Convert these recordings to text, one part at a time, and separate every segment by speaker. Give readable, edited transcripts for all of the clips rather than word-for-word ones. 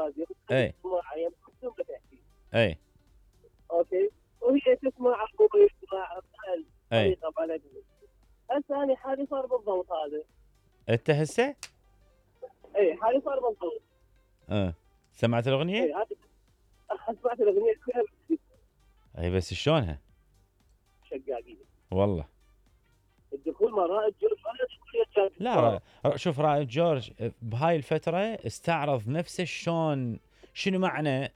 Speaker 1: الراديو
Speaker 2: اي
Speaker 1: تسمع يعني بدون ما تحكي.
Speaker 2: اي
Speaker 1: اوكي، وهي تسمع ابوي يسمع
Speaker 2: اي
Speaker 1: طريقه بلدي. هسه انا حالي صار بالضبط هذا.
Speaker 2: انت هسه؟
Speaker 1: اي حالي صار بالضبط.
Speaker 2: سمعت
Speaker 1: اي
Speaker 2: الاغنيه؟
Speaker 1: هذه سمعت الاغنيه كلها
Speaker 2: اي بس شلونها؟
Speaker 1: شقاقين.
Speaker 2: والله
Speaker 1: الدخول مع رائد جورج ولا دخول
Speaker 2: لا شوف رائد جورج بهاي الفتره استعرض نفسه شلون، شنو معنى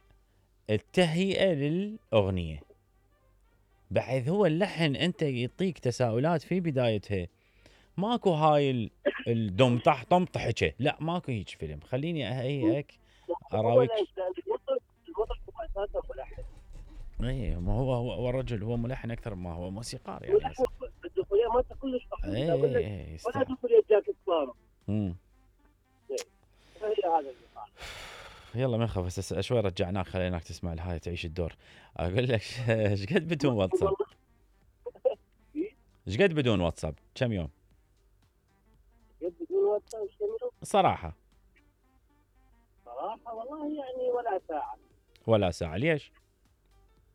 Speaker 2: التهيئه للاغنيه، بحيث هو اللحن انت يعطيك تساؤلات في بدايتها، ماكو هاي الدم طح طم طحكه، لا ماكو هيك فيلم، خليني اهيئك اراويك.
Speaker 1: المطرب هو اساسا ملحن.
Speaker 2: اي ما هو الرجل هو ملحن اكثر ما هو موسيقار يعني.
Speaker 1: الدخوليه مالته كلش
Speaker 2: اي
Speaker 1: ولا دخوليه جاك سبارو.
Speaker 2: هي
Speaker 1: هذا اللي صار.
Speaker 2: يلا ما نخاف، بس شوي رجعناك خليناك تسمع الهاي تعيش الدور. اقول لك ايش قد بدون واتساب؟ ايش قد بدون واتساب؟ كم يوم؟
Speaker 1: قد بدون واتساب كم يوم؟
Speaker 2: صراحه
Speaker 1: والله يعني ولا ساعه.
Speaker 2: ولا ساعه، ليش؟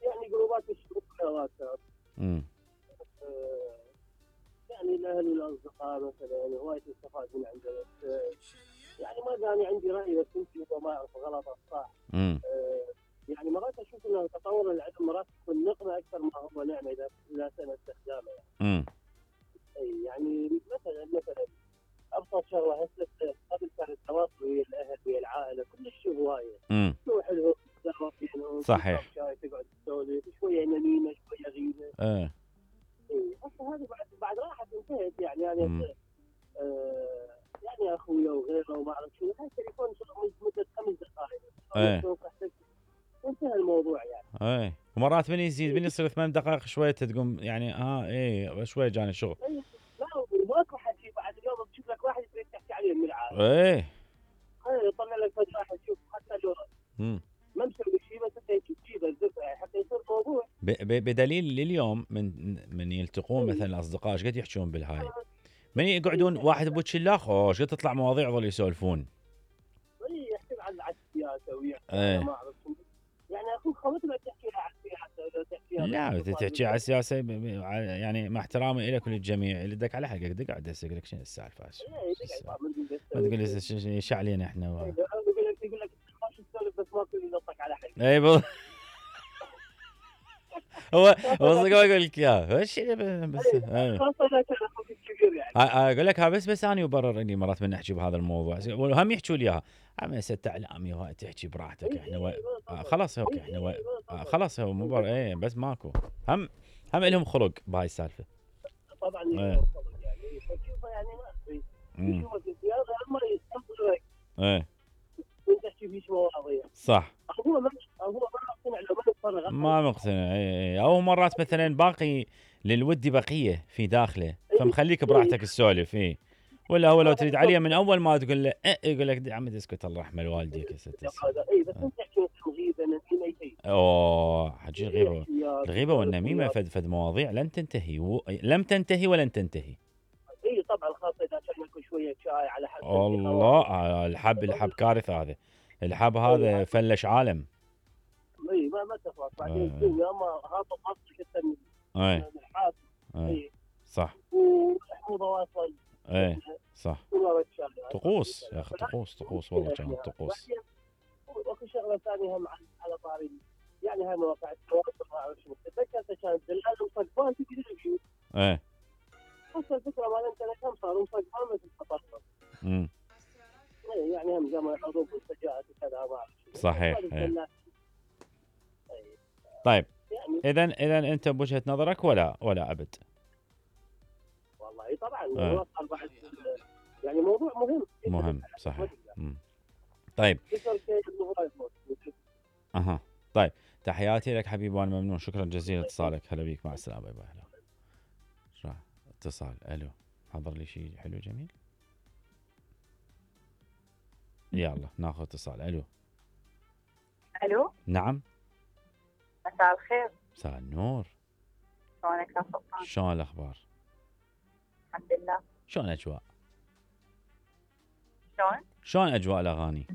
Speaker 1: يعني جروبات الشغل واتساب. يعني الاهل والاصدقاء مثلا هوايه استفاد من عندنا. يعني ما دامي عندي راي بس يمكن ما اعرف غلط او صح. يعني مرات اشوف ان تطور العلم مرات يكون نقمه اكثر ما هو نعمه اذا سن استخدامه يعني. يعني مثلا ابسط شغله هسه قبل كان التواصل ويا الاهل ويا العائله كلش هوايه. تروح لهم تتعرف بينهم
Speaker 2: صحيح.
Speaker 1: تقعد تسولف شويه نميمه شويه غيبه. هسه هذه بعد راحت انتهت يعني يعني اخويا وغيره وما اعرف شو هاي التليفون مده 5 دقائق. وانتهى الموضوع يعني.
Speaker 2: ومرات من يزيد من يصير 8 دقائق شويه تقوم يعني شويه جاني شغل.
Speaker 1: لا ماكو حكي بعد اليوم بتشوف لك واحد تريد تحكي عليه من العالم. يطلع لك فد واحد شوف حتى لو ما مسوي شيء بس انت تجيبه الدفع حتى يصير موضوع.
Speaker 2: بدليل لليوم من يلتقون مثلا الاصدقاء ايش قد يحجون بالهاي، من يقعدون واحد بوجه الاخر ايش قد تطلع مواضيع ظل يسولفون.
Speaker 1: يحكي عن السياسه ويحكي ما اعرف يعني اخوك خوت ما تحكي عن السياسه ولا تحكي
Speaker 2: لا تحكي على السياسه يعني مع احترامي لك وللجميع اللي دق على حلقك دق قاعد اسالك لك شنو السالفه. ما تقول لي شعلينا احنا
Speaker 1: يقول لك خش تسولف بس ما كل ينطق على حلقك.
Speaker 2: اي بالضبط. هو صدق ما اقول لك اياه بس
Speaker 1: خاصه اذا كان اخوك الكبير يعني.
Speaker 2: اقول لك بس انا يبرر اني مرات من نحكي بهذا الموضوع وهم يحكوا لي اياها عم ست اعلامي وهاي تحكي براحتك احنا خلاص اوكي احنا خلاص هو مو بس ماكو هم لهم خلق بهاي السالفه.
Speaker 1: طبعا يعني فشوفه يعني ما يشوفك الزياده اما يستقبلك. وانت تحكي في شو مواضيع
Speaker 2: صح.
Speaker 1: هو ما مقتنع لو ما نتفرغ
Speaker 2: ما مقتنع او مرات مثلا باقي للودي بقيه في داخله فمخليك براحتك تسولف ولا هو لو تريد عليه من اول ما تقول له يقول لك يا عمي اسكت الله يرحم والديك يا ست.
Speaker 1: بس انت تحكي غيبه نميمه شيء.
Speaker 2: حجي الغيبه والنميمه فد مواضيع لن تنتهي لم تنتهي ولن تنتهي.
Speaker 1: طبعا خاصه اذا كان ياكل شويه شاي على حسب
Speaker 2: الله الحب كارثه هذا الحب هذا فلش عالم.
Speaker 1: ما تخلص بعدين الدنيا ما هابط اصلك انت من الحاسب.
Speaker 2: صح.
Speaker 1: وحموضه واصل.
Speaker 2: صح. طقوس يا اخي طقوس والله كانت طقوس.
Speaker 1: واكو شغله ثانيه هم على طاري يعني هاي مواقع التواصل ما اعرف شنو تذكرت كانت دلال وصقبان تدري شو. هسه الفكره مال انت كم صار وصقبان مثل التطرف. يعني هم جمع الحروب والسجاءات وكذا ما اعرف.
Speaker 2: صحيح. طيب يعني اذا انت بوجهه نظرك ولا ابد؟
Speaker 1: والله طبعا نوصل بعد يعني موضوع مهم
Speaker 2: صحيح. طيب طيب تحياتي لك حبيبي وانا ممنون شكرا جزيلا اتصالك. هلا بيك مع السلامه. باي باي. هلا اتصال الو حضر لي شيء حلو جميل. يلا ناخذ اتصال. الو نعم
Speaker 3: مساء الخير.
Speaker 2: مساء النور.
Speaker 3: شلونك يا سلطان؟
Speaker 2: شلون الاخبار؟
Speaker 3: الحمد لله.
Speaker 2: شلون اجواء؟
Speaker 3: شلون
Speaker 2: اجواء الاغاني؟